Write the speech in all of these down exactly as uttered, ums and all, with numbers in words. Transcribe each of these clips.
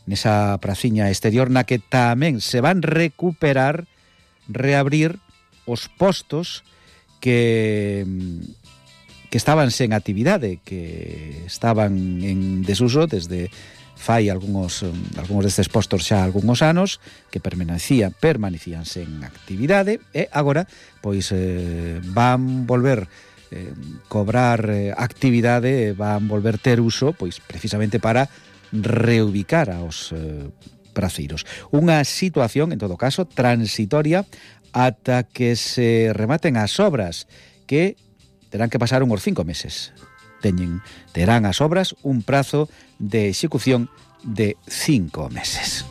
nesa praciña exterior na que tamén se van recuperar, reabrir os postos que que estaban sen actividade, que estaban en desuso desde fai algúns algúns destes postos xa algúns anos, que permanecían permanecían sen actividade, e agora pois eh, van volver eh, cobrar eh, actividade, van volver ter uso pois precisamente para reubicar aos eh, praceiros. Unha situación, en todo caso, transitoria ata que se rematen as obras, que terán que pasar uns cinco meses. Teñen, terán as obras un prazo de execución de cinco meses.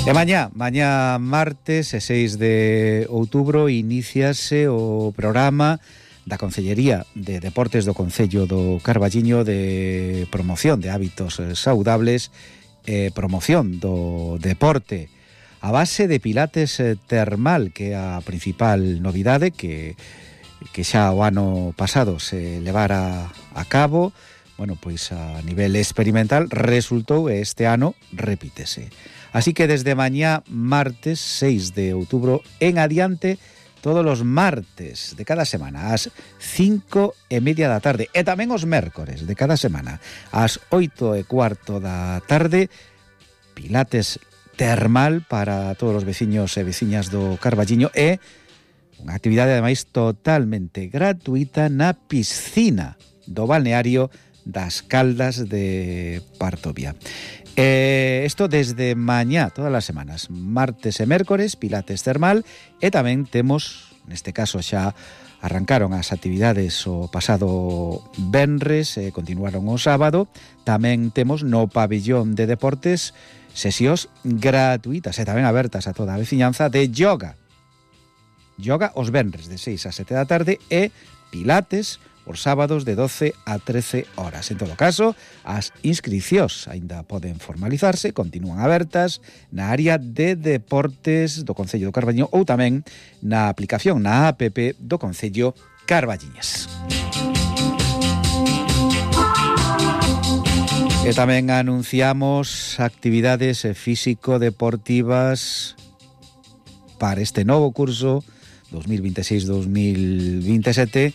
E mañá, mañá martes, seis de outubro, iníciase o programa da Concellería de Deportes do Concello do Carballiño de promoción de hábitos saudables e promoción do deporte a base de pilates termal, que é a principal novidade que, que xa o ano pasado se levara a cabo. Bueno, pois a nivel experimental resultou e este ano repítese. Así que desde mañá martes seis de outubro en adiante, todos os martes de cada semana ás cinco e media da tarde, e tamén os mércores de cada semana ás oito e cuarto da tarde, pilates termal para todos os veciños e veciñas do Carballiño, e unha actividade ademais totalmente gratuita na piscina do balneario das Caldas de Partovia. Eh, isto desde mañá, todas as semanas, martes e mércores, pilates termal, e tamén temos, neste caso xa arrancaron as actividades o pasado venres e continuaron o sábado, tamén temos no pabillón de deportes sesións gratuitas e tamén abertas a toda a veciñanza de yoga. Yoga os venres de seis a sete da tarde e pilates os sábados de doce a trece horas. En todo caso, as inscricións aínda poden formalizarse, continúan abertas na área de deportes do Concello do Carballiño ou tamén na aplicación, na app do Concello Carballiñes. E tamén anunciamos actividades físico-deportivas para este novo curso dos mil vinte e seis dos mil vinte e sete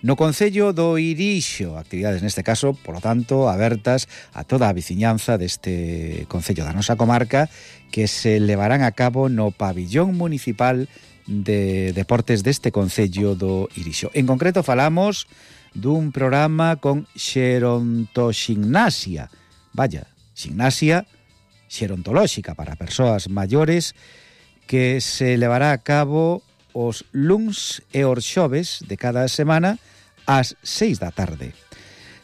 no Concello do Irixo. Actividades neste caso, por lo tanto, abertas a toda a veciñanza deste Concello da nosa comarca, que se levarán a cabo no pabillón municipal de deportes deste Concello do Irixo. En concreto falamos dun programa con xerontoxignasia, vaya, xignasia xerontolóxica para persoas maiores, que se levará a cabo os luns e os xoves de cada semana ás seis da tarde.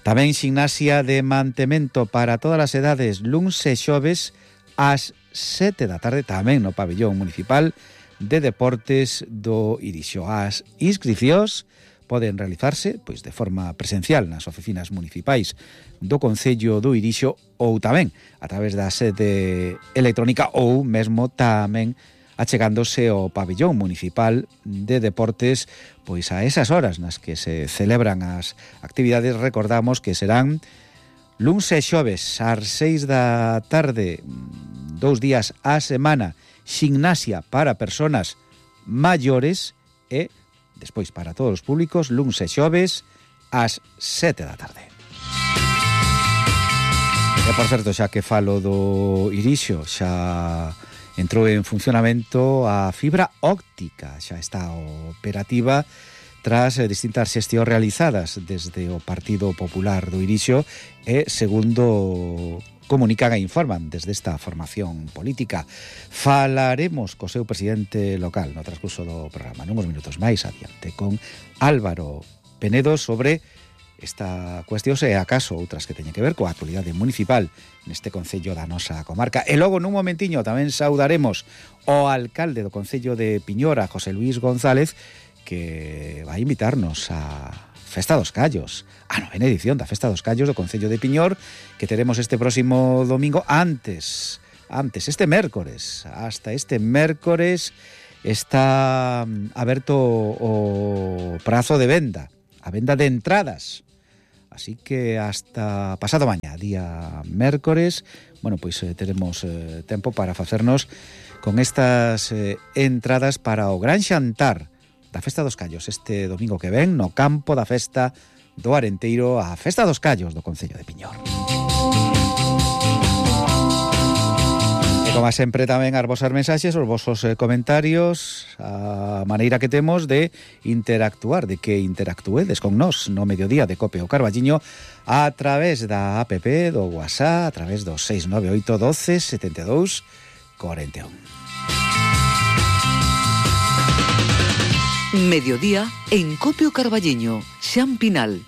Tamén xignasia de mantemento para todas as edades, luns e xoves ás sete da tarde, tamén no pabillón municipal de deportes do Irixo. As inscricións poden realizarse pois de forma presencial nas oficinas municipais do Concello do Irixo ou tamén a través da sede electrónica ou mesmo tamén achegándose ao pabillón municipal de deportes pois a esas horas nas que se celebran as actividades. Recordamos que serán luns e xoves ás seis da tarde, dous días á semana, xignasia para persoas maiores e despois para todos os públicos, luns e xoves ás sete da tarde. E por certo, xa que falo do Irixo, xa entrou en funcionamento a fibra óptica, xa está operativa tras distintas xestións realizadas desde o Partido Popular do Irixo e, segundo comunican e informan desde esta formación política. Falaremos co seu presidente local no transcurso do programa nuns minutos máis adiante con Álvaro Penedo sobre esta cuestión e acaso outras que teñen que ver coa actualidade municipal neste Concello da nosa comarca. E logo nun momentiño tamén saudaremos o alcalde do Concello de Piñor, a José Luis González, que vai invitarnos a Festa dos Callos, a novena edición da Festa dos Callos do Concello de Piñor, que teremos este próximo domingo, antes, antes, este mércores, hasta este mércores está aberto o prazo de venda, a venda de entradas Así que hasta pasado mañá, día mércores, bueno, pois eh, teremos eh, tempo para facernos con estas eh, entradas para o gran xantar da Festa dos Callos este domingo que ven no campo da Festa do Arenteiro, a Festa dos Callos do Concello de Piñor. Como sempre tamén as vosas mensaxes, os vosos eh, comentarios, a maneira que temos de interactuar, de que interactuedes con nós no mediodía de Cope o Carballiño a través da app do WhatsApp, a través do seis nove oito doce setenta e dous cuarenta e un. Mediodía en Cope o Carballiño, Xan Pinal.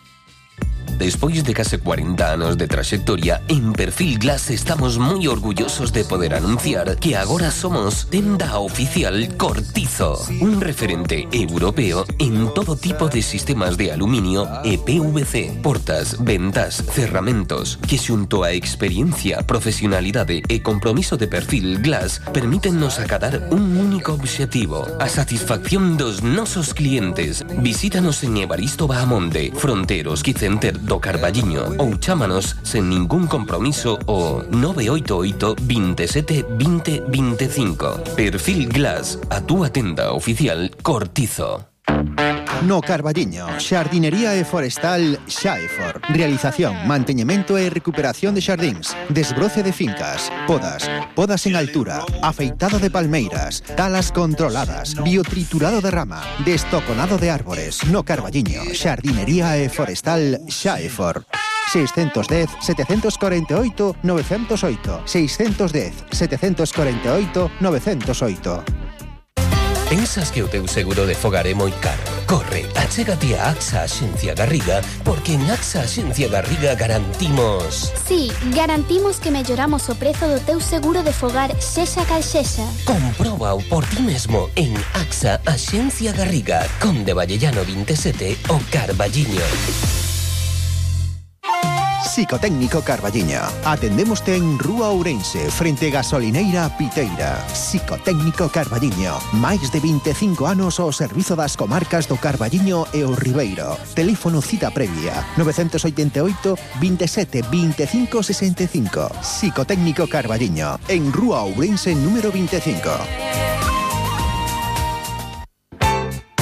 Despois de case cuarenta anos de traxectoria, en Perfil Glass estamos moi orgullosos de poder anunciar que agora somos tenda oficial Cortizo, un referente europeo en todo tipo de sistemas de aluminio e P V C, portas, ventas, cerramentos, que xunto a experiencia, profesionalidade e compromiso de Perfil Glass permítennos acadar un único obxectivo, a satisfacción dos nosos clientes. Visítanos en Evaristo Bahamonde, Fronteros Quicenter do Carballiño ou chámanos sen ningún compromiso o nove oito oito, veintisiete, veinte, veinticinco. Perfil Glass, a túa tenda oficial Cortizo. No Carballiño, xardinería e forestal Xaefor. Realización, manteñemento e recuperación de xardíns, desbroce de fincas, podas, podas en altura, afeitado de palmeiras, talas controladas, biotriturado de rama, destoconado de árbores. No Carballiño, xardinería e forestal Xaefor. seis uno cero, sete cuatro oito, nove cero oito, seis uno cero, sete cuatro oito, nove cero oito. Pensas que o teu seguro de fogar é moi caro? Corre, achégate a AXA Axencia Garriga, porque en AXA Axencia Garriga garantimos... Sí, garantimos que melloramos o prezo do teu seguro de fogar sexa cal sexa. Compróbao por ti mesmo en AXA Axencia Garriga, Conde Vallellano veintisiete, o Carballiño. Psicotécnico Carballiño. Atendémoste en Rúa Ourense, frente Gasolineira Piteira. Psicotécnico Carballiño. Máis de veinticinco anos ao servizo das comarcas do Carballiño e o Ribeiro. Teléfono cita previa nove oito oito, veintisiete, veinticinco, sesenta e cinco. Psicotécnico Carballiño. En Rúa Ourense número veinticinco.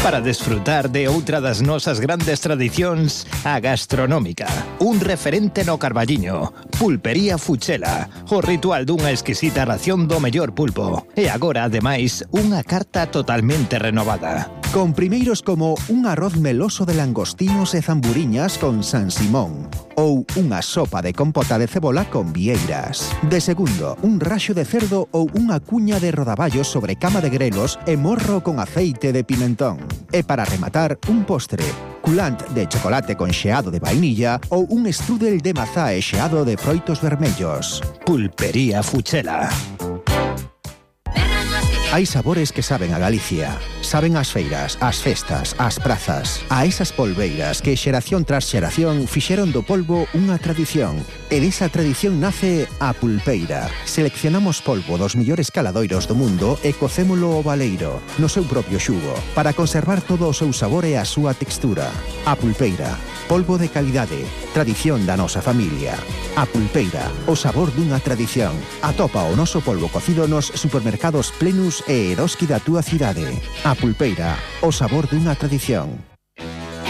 Para desfrutar de outra das nosas grandes tradicións, a gastronómica. Un referente no Carballiño, Pulpería Fuchela, o ritual dunha exquisita ración do mellor pulpo. E agora, ademais, unha carta totalmente renovada. Con primeiros como un arroz meloso de langostinos e zamburiñas con San Simón, ou unha sopa de compota de cebola con vieiras. De segundo, un raxo de cerdo ou unha cuña de rodaballos sobre cama de grelos e morro con aceite de pimentón. E para rematar, un postre, culant de chocolate con xeado de vainilla ou un strudel de mazá e xeado de froitos vermellos. Pulpería Fuchela. Hai sabores que saben a Galicia. Saben as feiras, as festas, as prazas. A esas polbeiras que xeración tras xeración fixeron do polvo unha tradición. E desa tradición nace a pulpeira. Seleccionamos polvo dos millores caladoiros do mundo e cocémolo ao baleiro, no seu propio xugo, para conservar todo o seu sabor e a súa textura. A pulpeira. Polvo de calidade. Tradición da nosa familia. A pulpeira. O sabor dunha tradición. Atopa o noso polvo cocido nos supermercados Plenus e Eroski da túa cidade. A pulpeira, o sabor dunha tradición.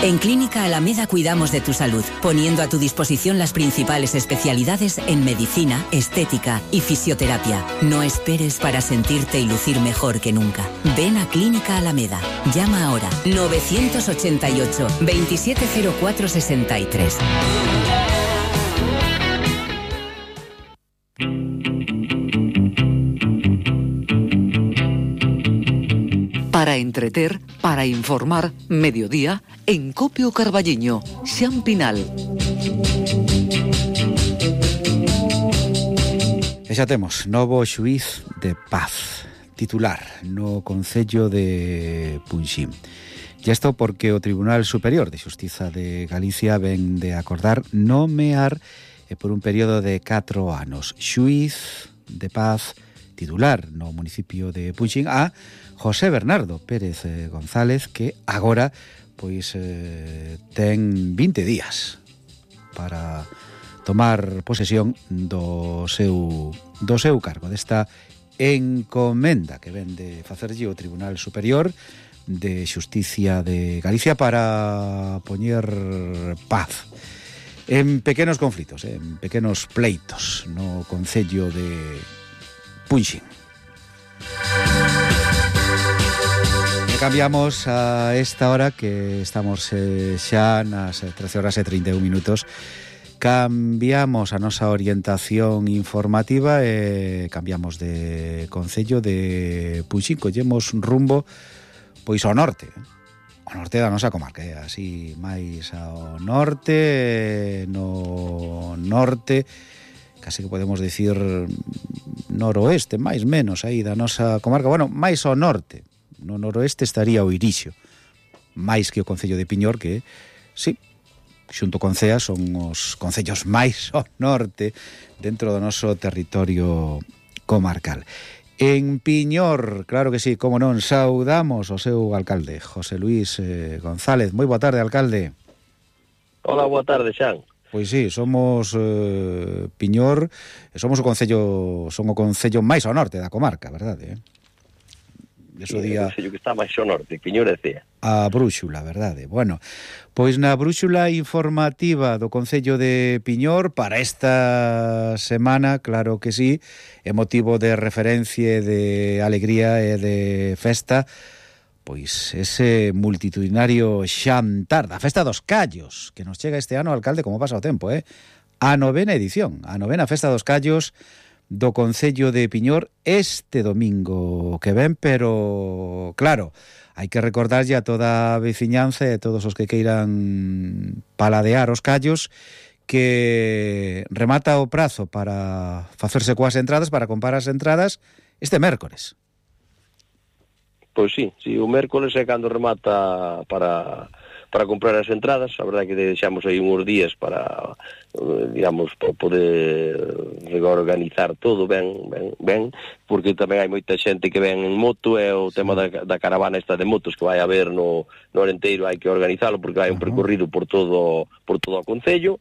En Clínica Alameda cuidamos de tu salud, poniendo a tu disposición las principales especialidades en medicina, estética y fisioterapia. No esperes para sentirte y lucir mejor que nunca. Ven a Clínica Alameda. Llama ahora nueve ocho ocho, veintisiete cero cuatro sesenta y tres. Para entreter, para informar, mediodía, en Cope o Carballiño, Xan Pinal. E xa temos novo xuíz de paz, titular no Concello de Punxín. E isto porque o Tribunal Superior de Xustiza de Galicia ven de acordar nomear e por un período de catro anos xuíz de paz titular no municipio de Punxín a José Bernardo Pérez González, que agora pois eh, ten vinte días para tomar posesión do seu, do seu cargo, desta encomenda que ven de facerlle o Tribunal Superior de Xusticia de Galicia para poñer paz en pequenos conflitos, en pequenos pleitos no concello de Punxín. E cambiamos a esta hora que estamos eh, xa nas trece horas e trinta e un minutos. Cambiamos a nosa orientación informativa e cambiamos de concello de Punxín, collemos rumbo pois ao norte, ao norte da nosa comarca, eh? Así máis ao norte, no norte, casi que podemos dicir noroeste, máis menos aí da nosa comarca, bueno, máis ao norte, no noroeste estaría o Irixo, máis que o concello de Piñor, que, sí, xunto con Cea son os concellos máis ao norte dentro do noso territorio comarcal. En Piñor, claro que sí, como non, saudamos o seu alcalde, José Luis eh, González. Moi boa tarde, alcalde. Hola, boa tarde, Xan. Pois sí, somos eh, Piñor, e somos o concello, son o concello máis ao norte da comarca, verdade, eh? Eso sí, día... o concello que está máis ao norte, Piñor e Cea. A brúxula, verdade. Bueno, pois na brúxula informativa do concello de Piñor para esta semana, claro que sí, é motivo de referencia, de alegría e de festa, pois ese multitudinario xantar da Festa dos Callos, que nos chega este ano, alcalde, como pasa o tempo, eh? A novena edición, a novena Festa dos Callos do concello de Piñor este domingo que ven, pero claro, hai que recordarlle a toda a veciñanza e a todos os que queiran paladear os callos que remata o prazo para facerse coas entradas, para comprar as entradas este mércores. Pois sí, sí, o mércores é cando remata para para comprar as entradas. A verdade que deixamos aí uns días para, digamos, para poder organizar todo ben, ben, ben, porque tamén hai moita xente que ven en moto, e o tema da, da caravana esta de motos que vai haber no, no Arenteiro hai que organizalo, porque hai un percorrido por todo por todo o concello.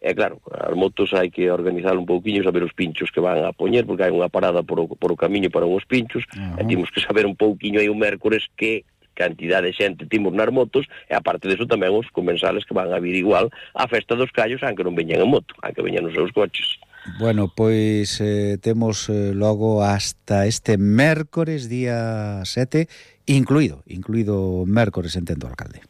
E claro, as motos hai que organizar un pouquiño, saber os pinchos que van a poñer, porque hai unha parada por o, por o camiño para uns pinchos, uh-huh. E temos que saber un pouquiño aí o mércores que cantidad de xente timos nas motos, e aparte deso tamén os comensales que van a vir igual á Festa dos Callos, aunque non veñan en moto, aunque veñan nos seus coches. Bueno, pois eh, temos eh, logo hasta este mércores, día sete, incluído, incluído mércores, entendo, alcalde.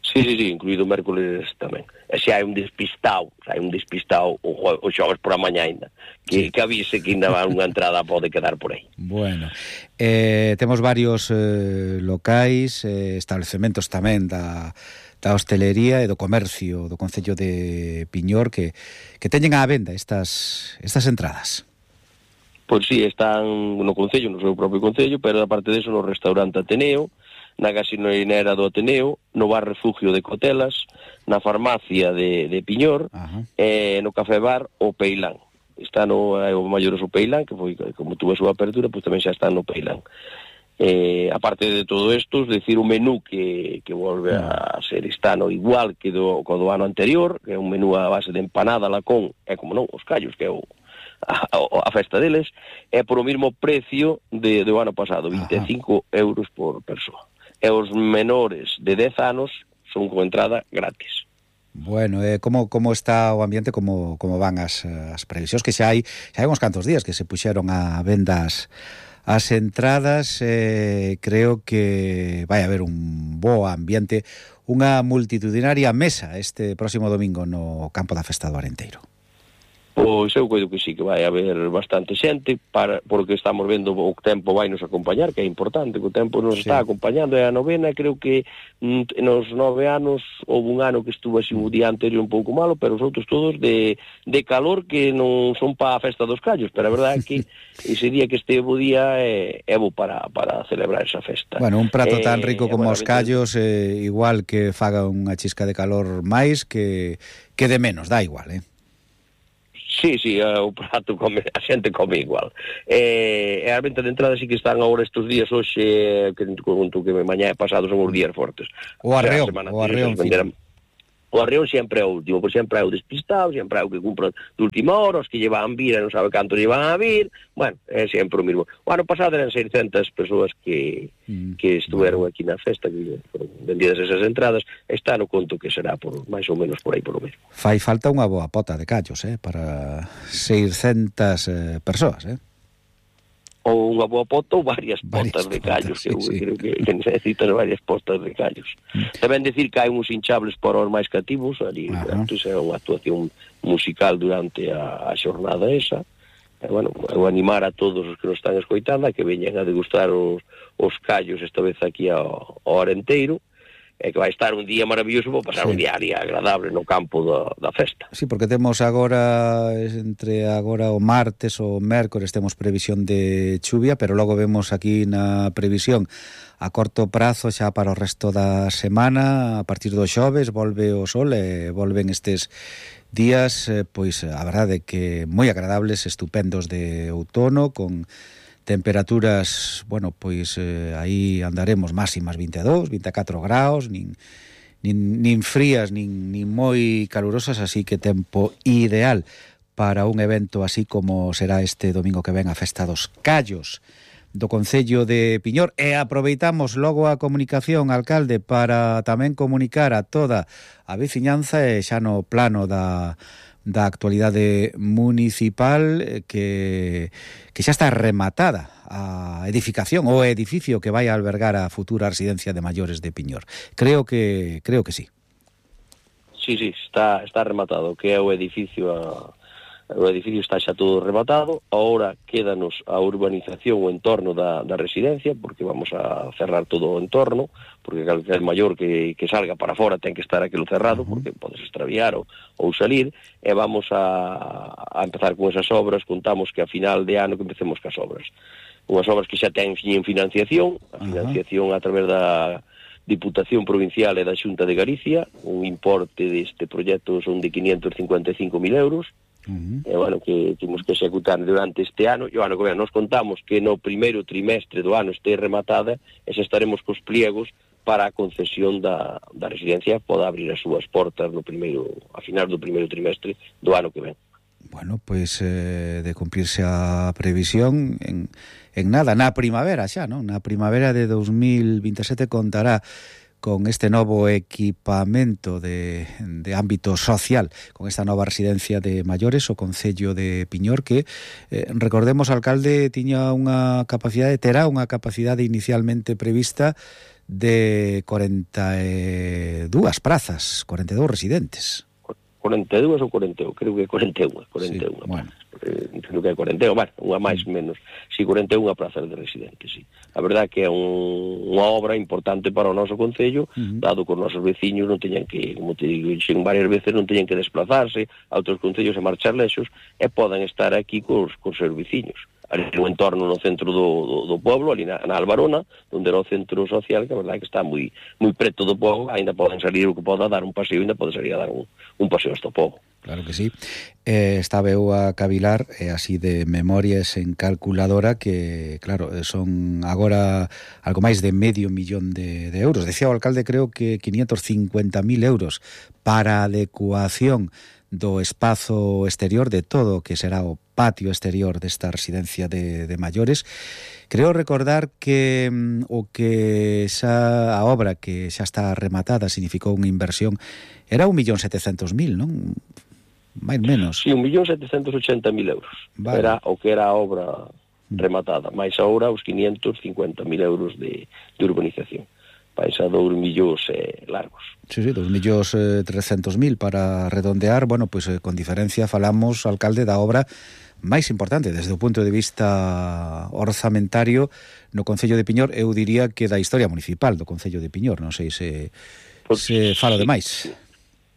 Sí, sí, sí, incluído mércores tamén. E se hai un despistado, se hai un despistado o, o xoves por a mañá ainda, que, sí. que avise que ainda unha entrada pode quedar por aí. Bueno, eh, temos varios eh, locais, eh, establecementos tamén da, da hostelería e do comercio do concello de Piñor que, que teñen á venda estas, estas entradas. Pois sí, están no concello, no seu propio concello, pero aparte deso no restaurante Ateneo, na gasolinera do Ateneo, no bar Refugio de Cotelas, na farmacia de, de Piñor, uh-huh. e no café bar o Peilán. Está no o Maiores o Peilán, que foi, como tuve a súa apertura, pois tamén xa está no Peilán. Eh, aparte de todo isto, es decir, un menú que, que volve a ser estano igual que do, co do ano anterior, que é un menú a base de empanada, lacón, e como non, os callos, que é o A, a festa deles, é por o mesmo precio de, do ano pasado, vinte e cinco Ajá. euros por persoa. E os menores de dez anos son con entrada gratis. Bueno, eh, como, como está o ambiente, como, como van as, as previsións, que xa hai, xa hai uns cantos días que se puxeron a vendas as entradas, eh, creo que vai haber un bo ambiente, unha multitudinaria mesa este próximo domingo no campo da Festa do Arenteiro. Pois eu coido que sí, que vai haber bastante xente, para, porque estamos vendo o tempo vai nos acompañar, que é importante, que o tempo nos sí. está acompañando, e a novena, creo que mm, nos nove anos, houve un ano que estuvo así o día anterior un pouco malo, pero os outros todos de, de calor, que non son para a Festa dos Callos, pero a verdade é que ese día que este bo día é, é bo para, para celebrar esa festa. Bueno, un prato tan rico eh, como bueno, os callos, eh, igual que faga unha chisca de calor máis, que, que de menos, dá igual, eh? Sí, sí, o prato come, a xente come igual. Eh, e a venta de entrada sí que están agora estes días, hoxe, que conto que mañá e pasado son os días fortes. O arreón, o, sea, o arreón venderan... o arreón sempre é o último, por sempre é o despistado, sempre é o que cumpre de última hora, os que llevan vir e non sabe canto llevan a vir, bueno, é sempre o mismo. O ano pasado eran seiscentas persoas que, mm, que estuveron bueno. aquí na festa, que foron vendidas esas entradas, este ano conto que será por máis ou menos por aí por o mesmo. Fai falta unha boa pota de callos, eh, para seiscentas eh, persoas, eh? Ou unha boa pota ou varias, varias potas de callos, potas, sí, que eu sí. creo que, que necesitan varias potas de callos. Mm. Tamén decir que hai uns hinchables para os máis cativos, ali, antes é unha actuación musical durante a, a xornada esa, e, bueno, eu animar a todos os que nos están escoitando a que veñan a degustar os, os callos esta vez aquí ao, ao Arenteiro, e que vai estar un día maravilloso para pasar sí. un día ali agradable no campo da, da festa. Sí, porque temos agora, entre agora o martes ou o mércores, temos previsión de chuvia, pero logo vemos aquí na previsión a corto prazo xa para o resto da semana, a partir do xoves volve o sol e volven estes días, eh, pois a verdade que moi agradables, estupendos de outono, con temperaturas, bueno, pois eh, aí andaremos máximas vinte e dous, vinte e catro graus, nin, nin, nin frías, nin, nin moi calurosas, así que tempo ideal para un evento así como será este domingo que ven a Festa dos Callos do Concello de Piñor. E aproveitamos logo a comunicación, alcalde, para tamén comunicar a toda a veciñanza e xa no plano da da actualidade municipal que, que xa está rematada a edificación ou edificio que vai a albergar a futura residencia de maiores de Piñor. Creo que creo que sí. Sí, sí, está está rematado, que é o edificio a o edificio está xa todo rematado, agora quédanos a urbanización o entorno da, da residencia, porque vamos a cerrar todo o entorno, porque calquer maior que, que salga para fora ten que estar aquilo cerrado, porque podes extraviar ou, ou salir, e vamos a, a empezar con esas obras, contamos que a final de ano que empecemos cas obras. Unhas obras que xa ten financiación, a financiación a través da Diputación Provincial e da Xunta de Galicia, un importe deste proxecto son de quinientos cincuenta e cinco mil euros, Uh-huh. E, bueno, que temos que executar durante este ano, e o ano que ven nos contamos que no primeiro trimestre do ano este rematada e xa estaremos cos pliegos para a concesión da, da residencia poda abrir as súas portas no primeiro, a final do primeiro trimestre do ano que ven. Bueno, pois eh, de cumplirse a previsión en, en nada, na primavera xa, non? Na primavera de dos mil vinte e sete contará con este novo equipamento de, de ámbito social, con esta nova residencia de maiores, o Concello de Piñor, que, eh, recordemos, alcalde, tiña unha capacidade, terá unha capacidade inicialmente prevista de corenta e dúas prazas, corenta e dous residentes. corenta e dúas ou corenta e un, creo que corenta e un, corenta e un. Sí, bueno. Eh, creo que é corenta e un, bueno, unha máis mm. menos, si sí, corenta e unha prazas de residentes, sí. A verdade que é un, unha obra importante para o noso concello, mm-hmm. dado que os nosos veciños non teñan que, como te digo, xen varias veces non teñan que desplazarse a outros concellos e marchar lexos, e poden estar aquí cos, cos seus veciños. Ali no entorno no centro do, do, do pueblo, ali na, na Albarona, onde era o centro social, que a verdade que está moi moi preto do pobo, ainda poden salir o que poda dar un paseo, ainda pode salir a dar un, un paseo hasta o pobo. Claro que sí. Eh, estaba eu a cavilar, eh, así de memorias en calculadora, que, claro, son agora algo máis de medio millón de, de euros. Decía o alcalde, creo que quinientos cincuenta mil euros para a adecuación do espazo exterior, de todo o que será o patio exterior desta residencia de, de maiores. Creo recordar que mm, o que xa a obra que xa está rematada significou unha inversión, era un millón setecentos mil, non? Mais menos. Sí, un millón setecentos ochenta mil euros. Vale. Era o que era a obra rematada, máis agora os quinientos cincuenta mil euros de, de urbanización. Vais a dous millóns eh, largos. Sí, sí, dos millóns eh, trescentos mil para redondear. Bueno, pois pues, eh, con diferencia falamos, alcalde, da obra máis importante desde o punto de vista orzamentario no Concello de Piñor, eu diría que da historia municipal do Concello de Piñor. Non sei se, pues, se falo de máis.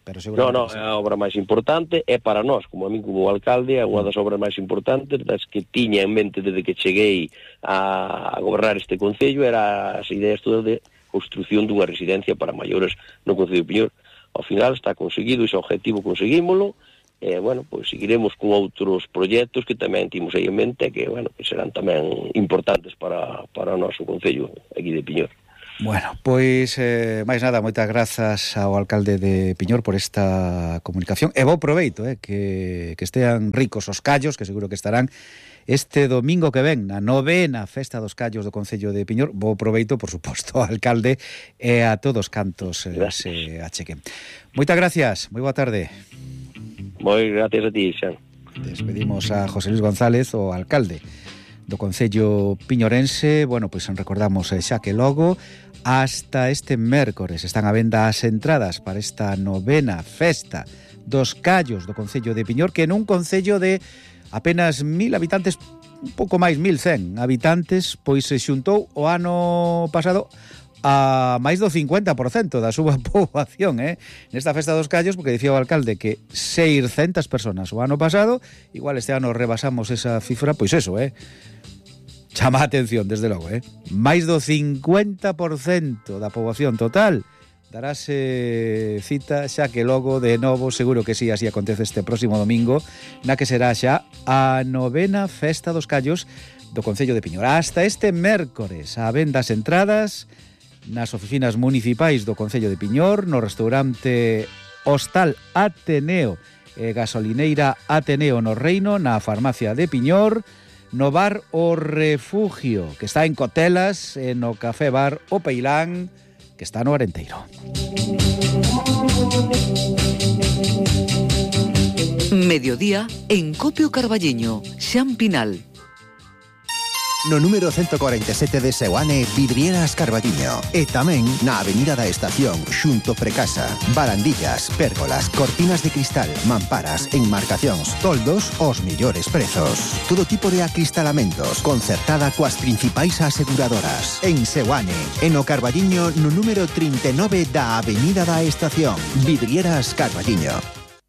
Pero no, no, é a obra máis importante, é para nós, como a mí como alcalde, é unha das obras máis importantes, das que tiña en mente desde que cheguei a, a gobernar este Concello, era as ideas todas de construción dunha residencia para maiores no Concello de Piñor. Ao final está conseguido, ese objetivo conseguímolo, e, bueno, pois seguiremos con outros proxectos que tamén timos aí en mente, que, bueno, que serán tamén importantes para, para o noso Concello aquí de Piñor. Bueno, pois, eh, máis nada, moitas grazas ao alcalde de Piñor por esta comunicación. E bo proveito, eh, que, que estean ricos os callos, que seguro que estarán este domingo que ven na novena Festa dos Callos do Concello de Piñor. Bo proveito, por suposto, ao alcalde e a todos cantos eh, se achequen. Moitas gracias, moi boa tarde. Moi gracias a ti, Xan. Despedimos a José Luis González, o alcalde do Concello piñorense. Bueno, pois recordamos xa que logo hasta este mércores están a venda as entradas para esta novena Festa dos Callos do Concello de Piñor, que nun concello de apenas mil habitantes, un pouco máis, mil cen habitantes, pois se xuntou o ano pasado a máis do cincuenta por cento da súa poboación, eh? Nesta Festa dos Callos, porque dicía o alcalde que seiscentas personas o ano pasado, igual este ano rebasamos esa cifra, pois eso, eh? Chama a atención, desde logo, eh? Máis do cincuenta por cento da poboación total darase cita, xa que logo de novo, seguro que sí, así acontece este próximo domingo, na que será xa a novena Festa dos Callos do Concello de Piñor. Hasta este mércores, a vendas entradas nas oficinas municipais do Concello de Piñor, no restaurante Hostal Ateneo e Gasolineira Ateneo no Reino, na farmacia de Piñor, no bar O Refugio, que está en Cotelas, e no café bar O Peilán, que está no Arenteiro. Mediodía en Copio Carballiño, Xan Pinal. No número ciento cuarenta y siete de Seoane, Vidrieras Carballiño. E tamén na Avenida da Estación, xunto Precasa. Barandillas, pérgolas, cortinas de cristal, mamparas, enmarcacións, toldos, os millores prezos. Todo tipo de acristalamentos, concertada coas principais aseguradoras. En Seoane, en o Carballiño, no número treinta y nueve da Avenida da Estación. Vidrieras Carballiño.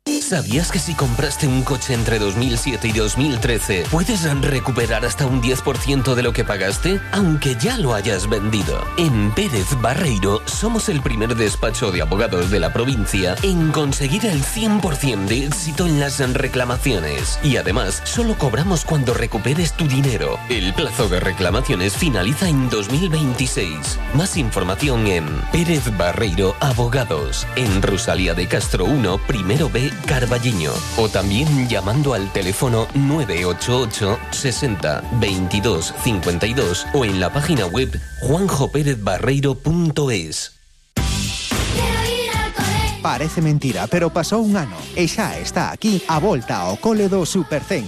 ¿Sabías que si compraste un coche entre dos mil siete y dos mil trece puedes recuperar hasta un diez por ciento de lo que pagaste, aunque ya lo hayas vendido? En Pérez Barreiro somos el primer despacho de abogados de la provincia en conseguir el cien por ciento de éxito en las reclamaciones. Y además, solo cobramos cuando recuperes tu dinero. El plazo de reclamaciones finaliza en dos mil veintiséis. Más información en Pérez Barreiro Abogados, en Rosalía de Castro uno, primero B, Carballiño, o también llamando al teléfono nueve ocho ocho sesenta veintidós cincuenta y dos o en la página web juanjo pérez barreiro punto es. Parece mentira, pero pasou un ano e xa está aquí a volta ao cole do Supercén.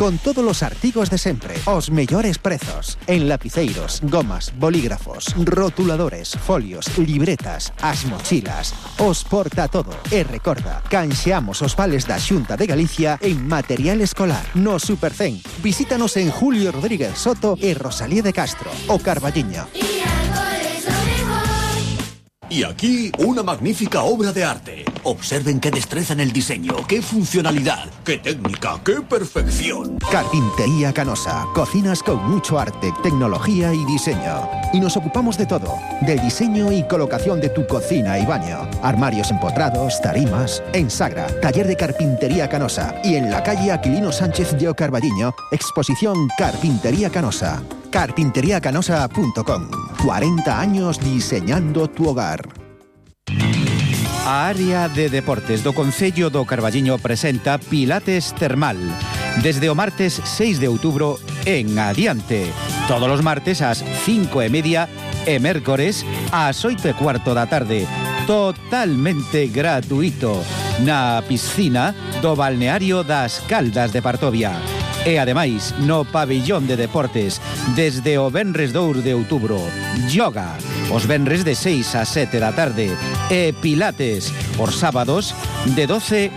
Con todos os artigos de sempre, os mellores prezos, en lapiceiros, gomas, bolígrafos, rotuladores, folios, libretas, as mochilas, os porta todo. E recorda, canxeamos os vales da Xunta de Galicia en material escolar. No Supercén, visítanos en Julio Rodríguez Soto e Rosalía de Castro, o Carballiño. Y aquí, una magnífica obra de arte. Observen qué destreza en el diseño, qué funcionalidad, qué técnica, qué perfección. Carpintería Canosa. Cocinas con mucho arte, tecnología y diseño. Y nos ocupamos de todo. Del diseño y colocación de tu cocina y baño. Armarios empotrados, tarimas. En Sagra, taller de Carpintería Canosa. Y en la calle Aquilino Sánchez de Carballiño, exposición Carpintería Canosa. carpintería canosa punto com. cuarenta años diseñando tu hogar. A área de deportes do Concello do Carballiño presenta Pilates Termal. Desde o martes seis de outubro en adiante. Todos os martes ás cinco e media e mércores ás oito e cuarto da tarde. Totalmente gratuito. Na piscina do balneario das Caldas de Partovia. E ademais, no pabillón de deportes, desde o venres dous de outubro, yoga, os venres de seis a sete da tarde, e pilates, os sábados, de doce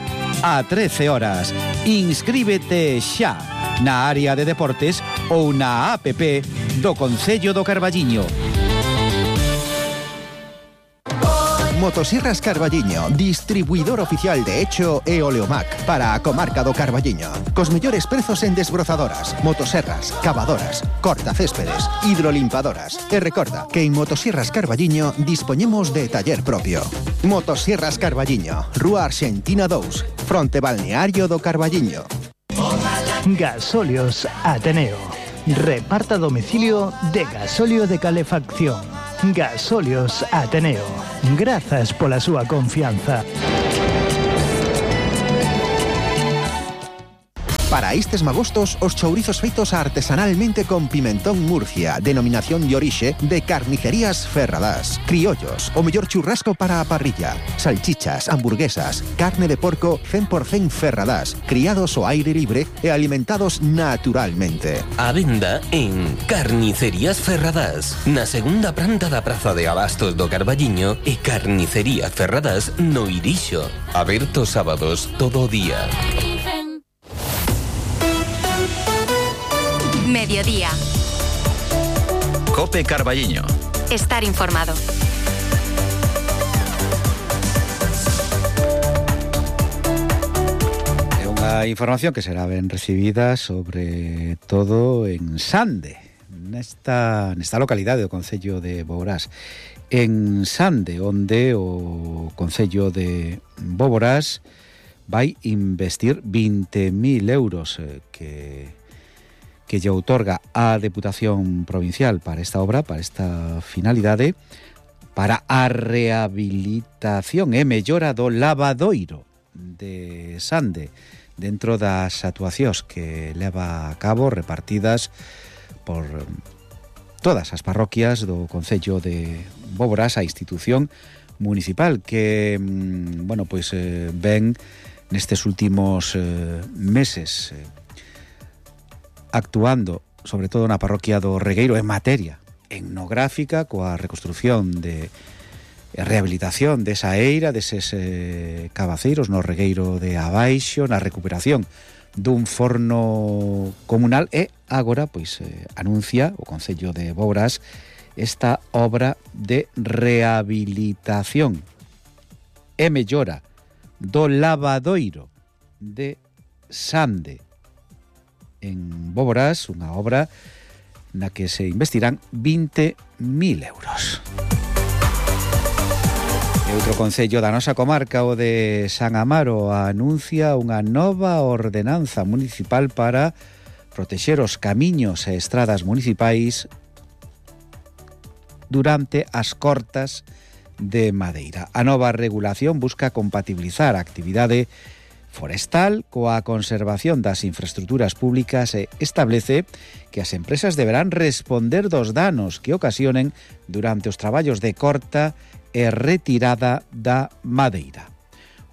a trece horas. Inscríbete xa na área de deportes ou na app do Concello do Carballiño. Motosierras Carballiño, distribuidor oficial de Echo e Oleomac para a comarca do Carballiño. Cos mellores prezos en desbrozadoras, motoserras, cavadoras, cortacéspedes, hidrolimpadoras. E recorda que en Motosierras Carballiño dispoñemos de taller propio. Motosierras Carballiño, Rúa Arxentina dous, fronte balneario do Carballiño. Gasóleos Ateneo. Reparta domicilio de gasóleo de calefacción. Gasóleos Ateneo. Grazas pola súa confianza. Para estes magostos, os chourizos feitos artesanalmente con pimentón Murcia, denominación de orixe de Carnicerías Ferradás. Criollos, o mellor churrasco para a parrilla. Salchichas, hamburguesas, carne de porco cen por cen Ferradás, criados ao aire libre e alimentados naturalmente. A venda en Carnicerías Ferradás, na segunda planta da Praza de Abastos do Carballiño e Carnicerías Ferradás no Irixo. Aberto sábados todo o día. Mediodía. Cope Carballiño. Estar informado. É unha información que será ben recibida sobre todo en Sande, nesta, nesta localidade do concello de Boborás. En Sande, onde o concello de Boborás vai investir vinte mil euros eh, que... que lle outorga a Deputación Provincial para esta obra, para esta finalidade, para a rehabilitación e mellora do lavadoiro de Sande, dentro das actuacións que leva a cabo repartidas por todas as parroquias do concello de Boborás, a institución municipal que, bueno, pois eh, ven nestes últimos eh, meses eh, actuando, sobre todo na parroquia do Regueiro, en materia etnográfica, coa reconstrucción de rehabilitación desa eira, deses eh, cabaceiros no Regueiro de Abaixo, na recuperación dun forno comunal e agora, pois, eh, anuncia o concello de Boborás esta obra de rehabilitación e mellora do lavadoiro de Sande en Boborás, unha obra na que se investirán vinte mil euros. E outro concello da nosa comarca, o de San Amaro, anuncia unha nova ordenanza municipal para protexer os camiños e estradas municipais durante as cortas de madeira. A nova regulación busca compatibilizar a actividade forestal coa conservación das infraestruturas públicas e establece que as empresas deberán responder dos danos que ocasionen durante os traballos de corta e retirada da madeira.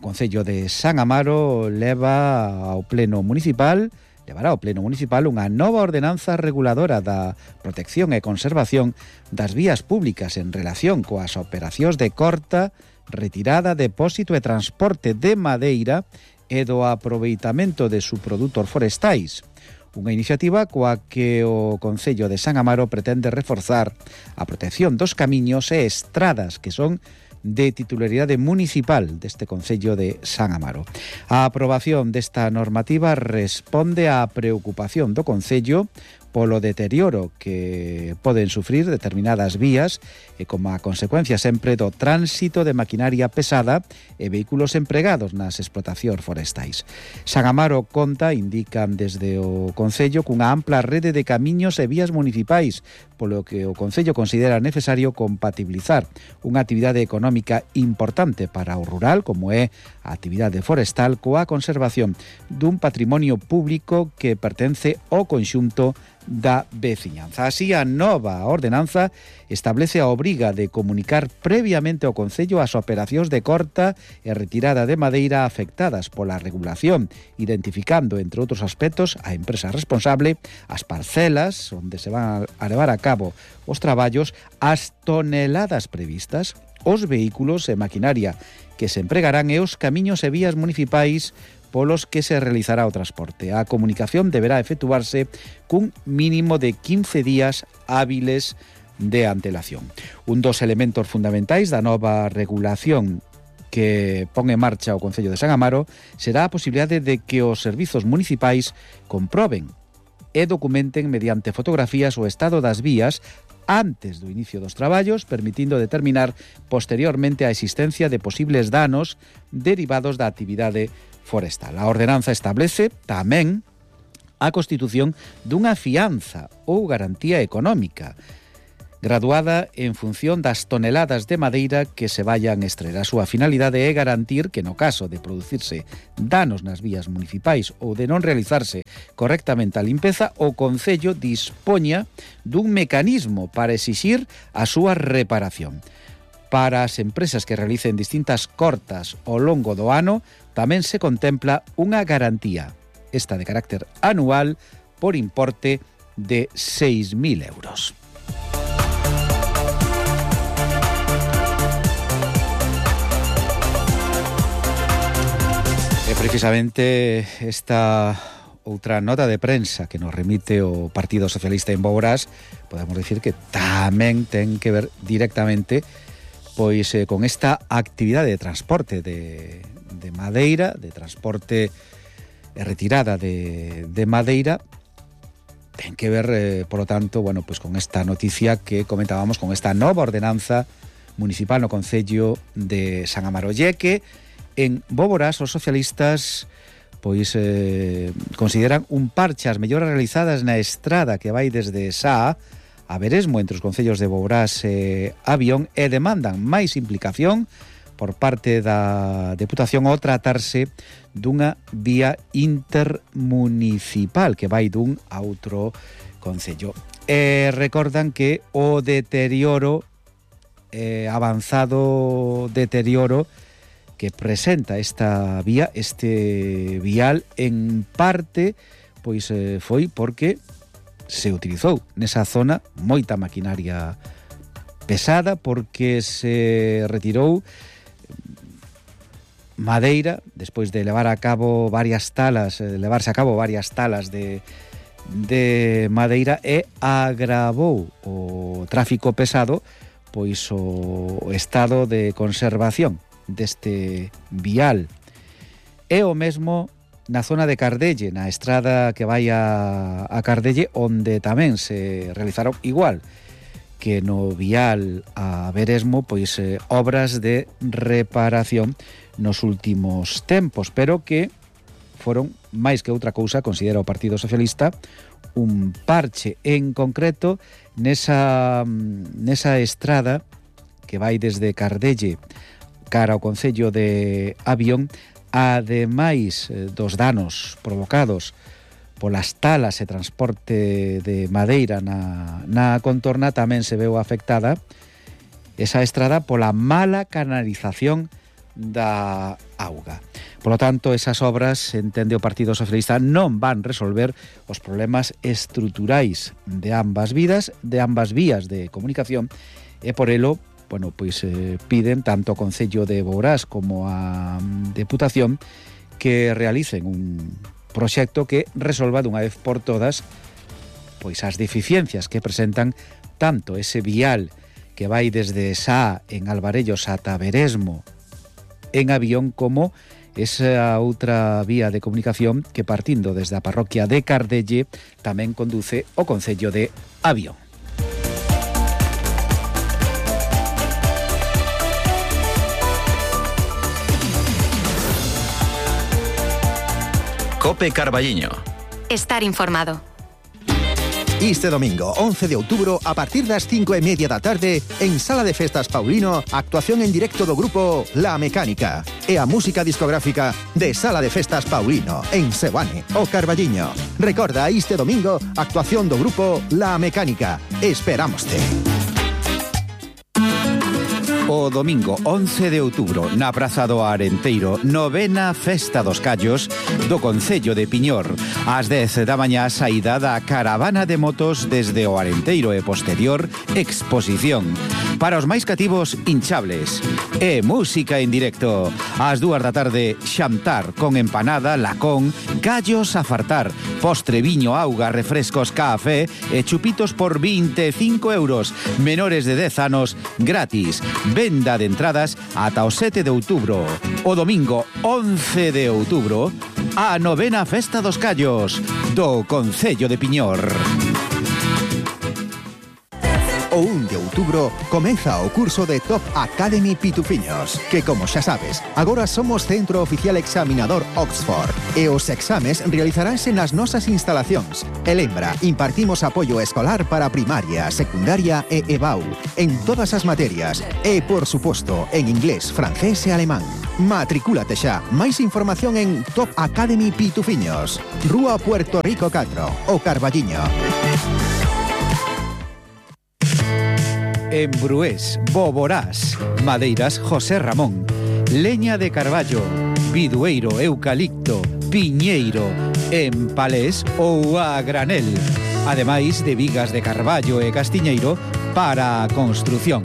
O Concello de San Amaro leva ao Pleno Municipal levará ao Pleno Municipal unha nova ordenanza reguladora da protección e conservación das vías públicas en relación coas operacións de corta, retirada, depósito e transporte de madeira e do aproveitamento de subprodutos forestais. Unha iniciativa coa que o Concello de San Amaro pretende reforzar a protección dos camiños e estradas que son de titularidade municipal deste Concello de San Amaro. A aprobación desta normativa responde á preocupación do Concello polo deterioro que poden sufrir determinadas vías e como a consecuencia sempre do tránsito de maquinaria pesada e vehículos empregados nas explotacións forestais. San Amaro conta, indican desde o Concello, cunha ampla rede de camiños e vías municipais, polo que o Concello considera necesario compatibilizar unha actividade económica importante para o rural, como é a actividade forestal, coa conservación dun patrimonio público que pertence ao conxunto da veciñanza. Así, a nova ordenanza establece a obriga de comunicar previamente ao Concello as operacións de corta e retirada de madeira afectadas pola regulación, identificando, entre outros aspectos, a empresa responsable, as parcelas onde se van a levar a cabo os traballos, as toneladas previstas, os vehículos e maquinaria que se empregarán e os camiños e vías municipais polos que se realizará o transporte. A comunicación deberá efectuarse cun mínimo de quince días hábiles de antelación. Un dos elementos fundamentais da nova regulación que pon en marcha o Concello de San Amaro será a posibilidade de que os servizos municipais comproben e documenten mediante fotografías o estado das vías antes do inicio dos traballos, permitindo determinar posteriormente a existencia de posibles danos derivados da actividade forestal. A ordenanza establece tamén a constitución dunha fianza ou garantía económica graduada en función das toneladas de madeira que se vayan extraer. A súa finalidade é garantir que no caso de producirse danos nas vías municipais ou de non realizarse correctamente a limpeza, o Concello dispoña dun mecanismo para exixir a súa reparación. Para as empresas que realicen distintas cortas ao longo do ano, tamén se contempla unha garantía, esta de carácter anual, por importe de seis mil euros. E precisamente esta outra nota de prensa que nos remite o Partido Socialista en Boborás, podemos decir que tamén ten que ver directamente pois eh, con esta actividade de transporte de, de madeira, de transporte e retirada de, de madeira. Ten que ver, eh, por lo tanto, bueno, pues con esta noticia que comentábamos, con esta nova ordenanza municipal no Concello de San Amaro. Lle que en Boborás os socialistas pois eh, consideran un parche as melloras realizadas na estrada que vai desde Sá a Veresmo entre os concellos de Boborás e Avión e demandan máis implicación por parte da Deputación ao tratarse dunha vía intermunicipal que vai dun a outro concello. E recordan que o deterioro, eh, avanzado deterioro que presenta esta vía, este vial, en parte, pois eh, foi porque se utilizou nesa zona moita maquinaria pesada, porque se retirou madeira despois de levar a cabo varias talas, de levarse a cabo varias talas de, de madeira, e agravou o tráfico pesado pois o estado de conservación deste vial. É o mesmo na zona de Cardelle, na estrada que vai a, a Cardelle, onde tamén se realizaron igual que no vial a Veresmo, pois eh, obras de reparación nos últimos tempos, pero que foron máis que outra cousa, considera o Partido Socialista, un parche en concreto nesa, nesa estrada que vai desde Cardelle cara ao Concello de Avión, ademais dos danos provocados polas talas e transporte de madeira na, na contorna, tamén se veu afectada esa estrada pola mala canalización da auga. Por lo tanto, esas obras, entende o Partido Socialista, non van resolver os problemas estruturais de ambas vidas, de ambas vías de comunicación, e por elo, bueno, pois eh, piden tanto ao Concello de Boborás como a Deputación que realicen un proxecto que resolva dunha vez por todas pois as deficiencias que presentan tanto ese vial que vai desde Sá en Alvarellos ata Veresmo en Avión, como esa outra vía de comunicación que, partindo desde a parroquia de Cardelle, tamén conduce ao Concello de Avión. Cope Carballiño. Estar informado. Este domingo, once de outubro, a partir das cinco e media da tarde, en Sala de Festas Paulino, actuación en directo do grupo La Mecánica e a música discográfica de Sala de Festas Paulino, en Seoane, o Carballiño. Recorda, este domingo, actuación do grupo La Mecánica. Esperámoste. O domingo once de outubro, na Praza do Arenteiro, novena Festa dos Callos do Concello de Piñor. Ás dez da mañá, saída da caravana de motos desde o Arenteiro e posterior exposición. Para os máis cativos, hinchables e música en directo. Ás dúas da tarde, xantar con empanada, lacón, callos a fartar, postre, viño, auga, refrescos, café e chupitos por vinte e cinco euros. Menores de dez anos, gratis. Venda de entradas ata o sete de outubro. O domingo once de outubro, a novena Festa dos Callos do Concello de Piñor. O O un de outubro comeza o curso de Top Academy Pitufiños, que, como xa sabes, agora somos Centro Oficial Examinador Oxford e os exames realizaránse nas nosas instalacións. E lembra, impartimos apoio escolar para primaria, secundaria e E B A U en todas as materias e, por suposto, en inglés, francés e alemán. Matricúlate xa. Máis información en Top Academy Pitufiños, Rúa Puerto Rico catro, o Carballiño. En Brués, Boborás, Madeiras José Ramón, leña de carballo, bidueiro, eucalipto, piñeiro, en palés ou a granel, ademais de vigas de carballo e castiñeiro para a construción.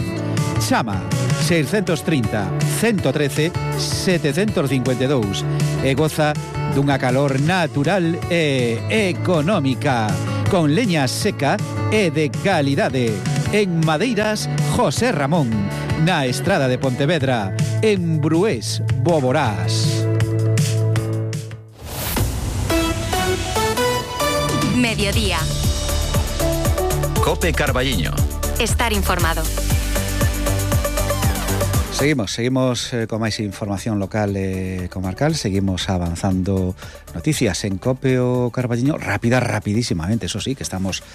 Chama seiscentos trinta, ciento trece, setecientos cincuenta e dous e goza dunha calor natural e económica, con leña seca e de calidade. En Madeiras José Ramón, na Estrada de Pontevedra, en Brués, Boborás. Mediodía. Cope Carballiño. Estar informado. Seguimos, seguimos eh, con máis información local e eh, comarcal. Seguimos avanzando noticias en Cope o Carballiño, rápida, rapidísimamente, eso sí, que estamos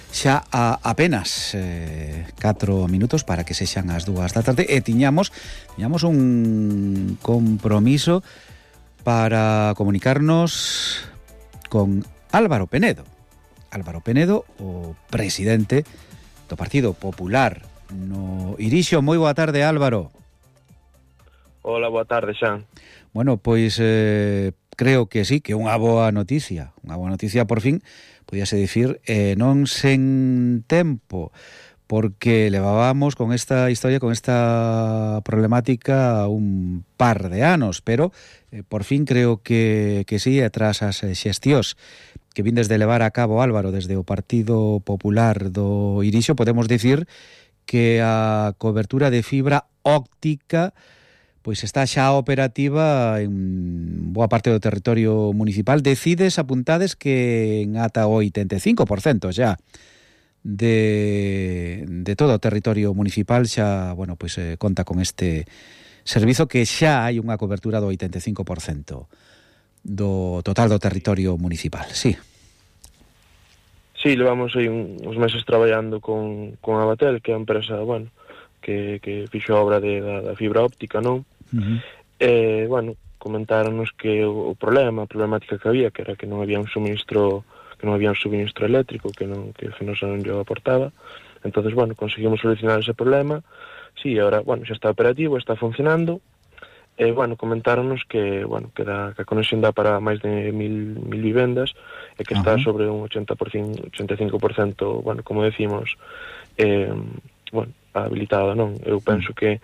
xa a apenas eh, catro minutos para que sexan as dúas da tarde e tiñamos, tiñamos un compromiso para comunicarnos con Álvaro Penedo. Álvaro Penedo, o presidente do Partido Popular no Irixo. Moi boa tarde, Álvaro. Hola, boa tarde, Xan. Bueno, pois eh, creo que sí, que unha boa noticia, unha boa noticia por fin, podíase dicir, eh, non sen tempo, porque levábamos con esta historia, con esta problemática un par de anos, pero eh, por fin creo que, que sí, e tras as xestións que vindes de levar a cabo, Álvaro, desde o Partido Popular do Irixo, podemos dicir que a cobertura de fibra óptica pois está xa operativa en boa parte do territorio municipal. Decides, apuntades que en ata o oitenta e cinco por cento xa de, de todo o territorio municipal xa, bueno, pois eh, conta con este servizo, que xa hai unha cobertura do oitenta e cinco por cento do total do territorio municipal. Sí. Sí, levamos aí un, uns meses traballando con, con Abatel, que é a empresa, bueno, que, que fixo a obra de, da, da fibra óptica, non? Uh-huh. E, bueno, comentáronos que o, o problema, a problemática que había, que era que non había un suministro, que non había un suministro eléctrico, que non que Fenosa non lle aportaba. Entonces, bueno, conseguimos solucionar ese problema. Sí, ahora, bueno, xa está operativo, está funcionando. E, bueno, comentáronos que, bueno, que, da, que a conexión dá para máis de mil, mil vivendas e que está uh-huh. sobre un ochenta por ciento, ochenta e cinco por ciento, bueno, como decimos, eh, bueno, habilitado, non? Eu penso que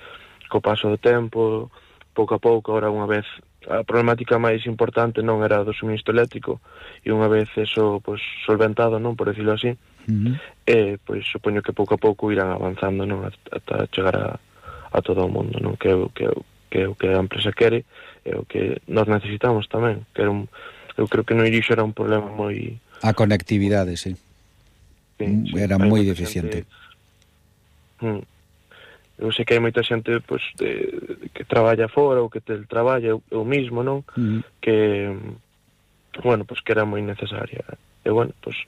co paso do tempo, pouco a pouco, ahora unha vez a problemática máis importante non era do suministro eléctrico, e unha vez eso, pois, solventado, non, por decirlo así, uh-huh. eh, pois supoño que pouco a pouco irán avanzando, non, ata chegar a, a todo o mundo, non, que eu, que eu, que o que a empresa quere e o que nós necesitamos tamén, que era un, eu creo que no Irixo era un problema moi... A conectividade, sí. sí, sí era moi deficiente. Xente... Eu sei que hai moita xente pois, de, de, que traballa fora ou que teletraballa, eu, eu mismo, non? Uh-huh. Que, bueno, pois que era moi necesaria. E, bueno, pois,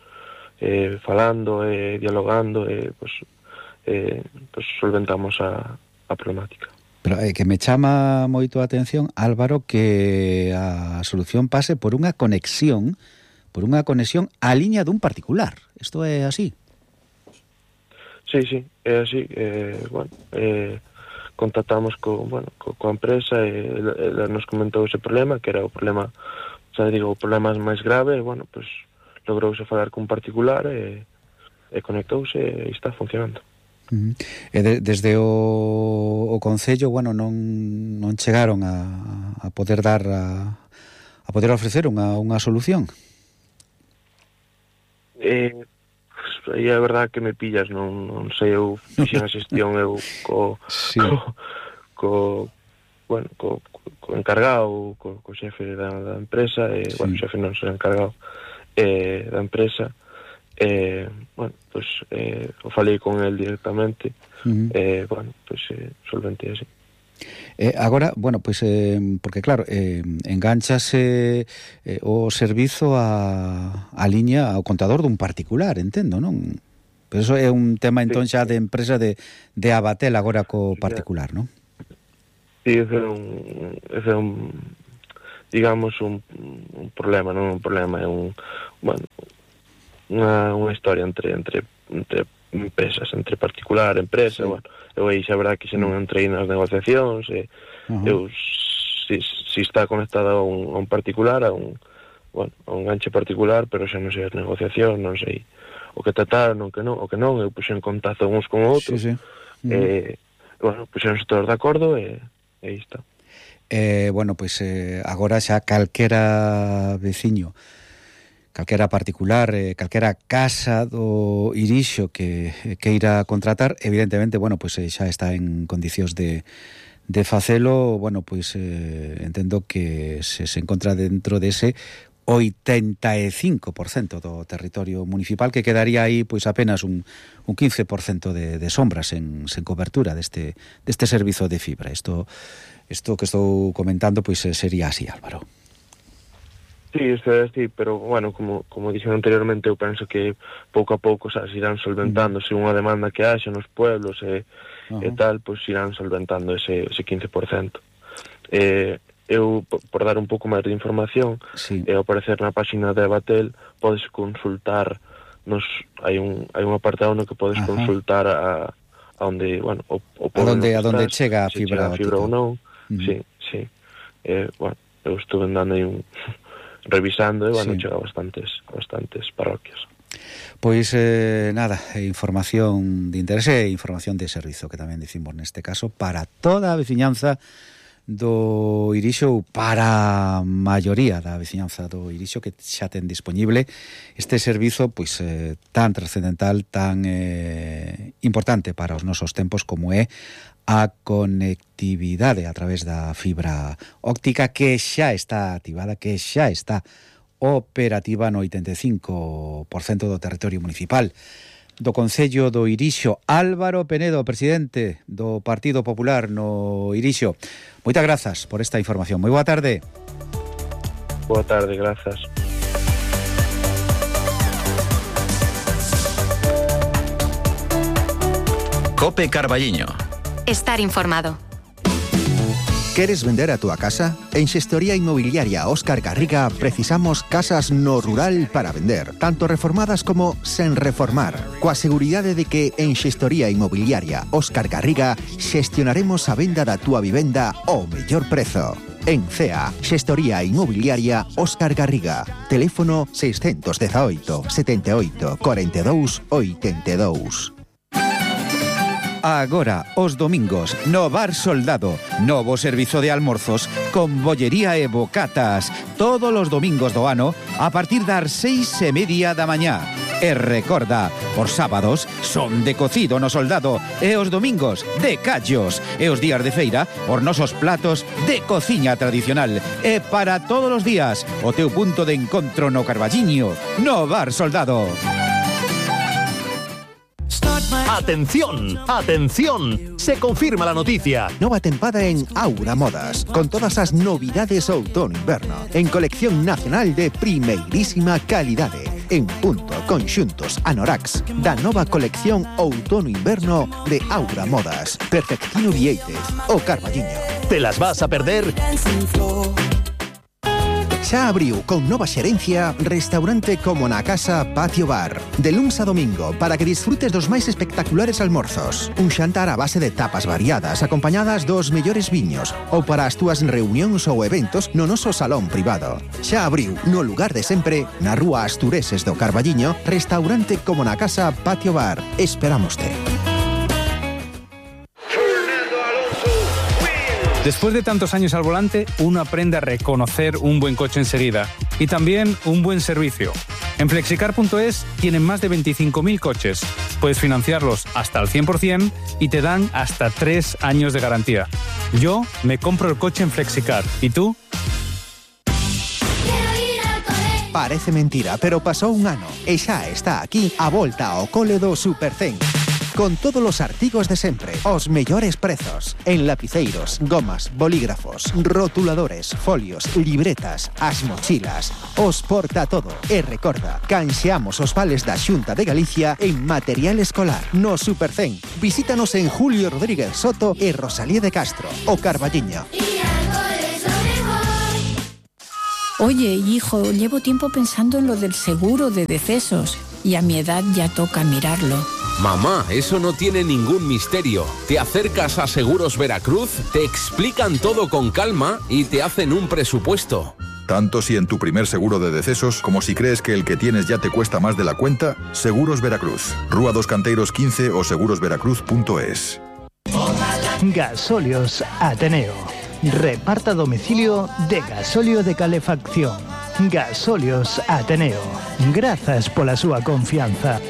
eh, falando e eh, dialogando, eh, pois, eh, pois solventamos a, a problemática. Pero é eh, que me chama moito a atención, Álvaro, que a solución pase por unha conexión, por unha conexión á liña dun particular. Isto é así? Sí, sí, é así. Eh, bueno, eh, contactamos co, bueno, co, coa empresa e ela nos comentou ese problema, que era o problema, xa digo, o problema máis grave, e, bueno, pues, logrouse falar con un particular e, e conectouse e está funcionando. Uh-huh. E de, desde o, o Concello, bueno, non, non chegaron a, a poder dar a, a poder ofrecer unha, unha solución? Eh, pues, aí é verdade que me pillas, non, non sei, eu fixen a xestión eu co, sí. co, co bueno, co, co encargado, co, co xefe da, da empresa, e, sí. bueno, o xefe non será encargado eh, da empresa, eh, bueno, pues eh, o falei con el directamente, uh-huh. eh, bueno, pues eh, solventei así. Eh, agora, bueno, pois, eh, porque claro, eh, enganchase eh, o servizo a, a liña ao contador dun particular, entendo, non? Pero eso é un tema entón xa de empresa de, de Abatel agora co particular, non? Sí, ese é un, ese é un digamos, un, un problema, non un problema, é un, bueno, unha, unha historia entre, entre, entre empresas, entre particular, empresa, sí. Bueno, eu aí xa verdad que xa non entrei nas negociacións, e, uh-huh. eu, si, si está conectada a un, a un particular, a un, bueno, a un ganche particular, pero xa non sei as negociacións, non sei o que trataron, o que non, o que non, eu puxen en contacto uns con outros, sí, sí. Uh-huh. e, bueno, puxeronse todos de acordo, e, e aí está. Eh, bueno, pois eh, agora xa calquera veciño, calquera particular, eh, calquera casa do Irixo que queira contratar, evidentemente, bueno, pois eh, xa está en condicións de, de facelo, bueno, pois eh, entendo que se, se encontra dentro dese oitenta e cinco por cento do territorio municipal, que quedaría aí pois apenas un, un quince por cento de, de sombras en, sen cobertura deste, deste servizo de fibra. Isto, isto que estou comentando pois sería así, Álvaro. Sí, isto é así, pero, bueno, como, como dixen anteriormente, eu penso que pouco a pouco, sabes, irán solventando, se unha demanda que haxa nos pueblos e, uh-huh. e tal, pois irán solventando ese, ese quince por cento. Eh, eu, por dar un pouco máis de información, sí. e ao aparecer na página de Abatel, podes consultar, nos, hai un, hai un apartado no que podes uh-huh. consultar a, a onde, bueno, o, o a donde, a donde chega a fibra, a fibra ou non, uh-huh. sí, sí. Eh, bueno, eu estuve andando aí un... revisando, e, bueno, sí. chega a bastantes, bastantes parroquias. Pois, eh, nada, información de interese e información de servizo, que tamén dicimos neste caso, para toda a veciñanza do Irixo, para a maioría da veciñanza do Irixo, que xa ten disponible este servizo, pois, eh, tan trascendental, tan eh, importante para os nosos tempos como é a conectividade a través da fibra óptica, que xa está activada, que xa está operativa no oitenta e cinco por cento do territorio municipal do Concello do Irixo. Álvaro Penedo, presidente do Partido Popular no Irixo, moitas grazas por esta información. Moi boa tarde. Boa tarde, grazas. Cope Carballiño. Estar informado. ¿Queres vender a tu casa? En Xestoría Inmobiliaria Óscar Garriga precisamos casas no rural para vender, tanto reformadas como sen reformar, coa seguridade de que en Xestoría Inmobiliaria Óscar Garriga xestionaremos a venda da túa vivenda ao mellor prezo. En C E A, Xestoría Inmobiliaria Óscar Garriga. Teléfono seiscentos dezaoito, setenta e oito, cuarenta e dous, oitenta e dous. Agora, os domingos, no Bar Soldado, novo servizo de almorzos con bollería e bocatas, todos os domingos do ano a partir das seis e media da mañá. E recorda, os sábados son de cocido no Soldado e os domingos de callos, e os días de feira os nosos platos de cociña tradicional. E para todos os días, o teu punto de encontro no Carballiño, no Bar Soldado. ¡Atención! ¡Atención! Se confirma la noticia. Nova tempada en Aura Modas, con todas as novidades outono-inverno, en colección nacional de primeirísima calidade, en punto, conxuntos, anoraks, da nova colección outono-inverno de Aura Modas. Perfectino Vieitez, o Carballiño. ¿Te las vas a perder? Xa abriu con nova xerencia restaurante como na casa Patio Bar. De luns a domingo, para que disfrutes dos máis espectaculares almorzos. Un xantar a base de tapas variadas, acompañadas dos mellores viños, ou para as túas reunións ou eventos no noso salón privado. Xa abriu no lugar de sempre, na rúa Astureses do Carballiño, restaurante como na casa Patio Bar. Esperámoste. Después de tantos años al volante, uno aprende a reconocer un buen coche enseguida y también un buen servicio. En flexicar punto es tienen más de veinticinco mil coches. Puedes financiarlos hasta el cien por ciento y te dan hasta tres años de garantía. Yo me compro el coche en Flexicar. ¿Y tú? Parece mentira, pero pasou un ano e xa está aquí a volta ao cole do Supercén. Con todos os artigos de sempre, os mellores prezos, en lapiceiros, gomas, bolígrafos, rotuladores, folios, libretas, as mochilas, os porta todo. E recorda, canxeamos os vales da Xunta de Galicia en material escolar no Supercén. Visítanos en Julio Rodríguez Soto e Rosalía de Castro, o Carballiño. Oye, hijo, llevo tiempo pensando en lo del seguro de decesos y a mi edad ya toca mirarlo. Mamá, eso no tiene ningún misterio. Te acercas a Seguros Veracruz, te explican todo con calma y te hacen un presupuesto. Tanto si en tu primer seguro de decesos como si crees que el que tienes ya te cuesta más de la cuenta, Seguros Veracruz. Rúa dos Canteiros quince o seguros veracruz punto es. Gasóleos Ateneo. Reparta domicilio de gasóleo de calefacción. Gasóleos Ateneo. Grazas pola súa confianza.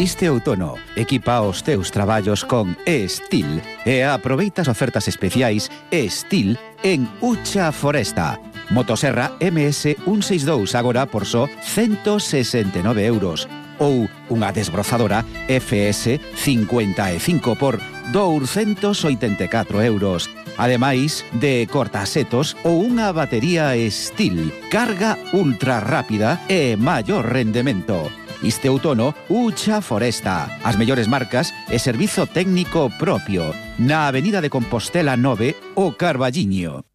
Este outono, equipa os teus traballos con E-Steel e aproveita as ofertas especiais E-Steel en Ucha Foresta. Motoserra M S ciento sesenta e dous agora por só ciento sesenta e nove euros ou unha desbrozadora F S cincuenta e cinco por douscentos oitenta e catro euros. Ademais de cortasetos ou unha batería Steel, carga ultra rápida e maior rendemento. Este outono, Ucha Foresta. As mellores marcas e servizo técnico propio. Na Avenida de Compostela nove, o Carballiño.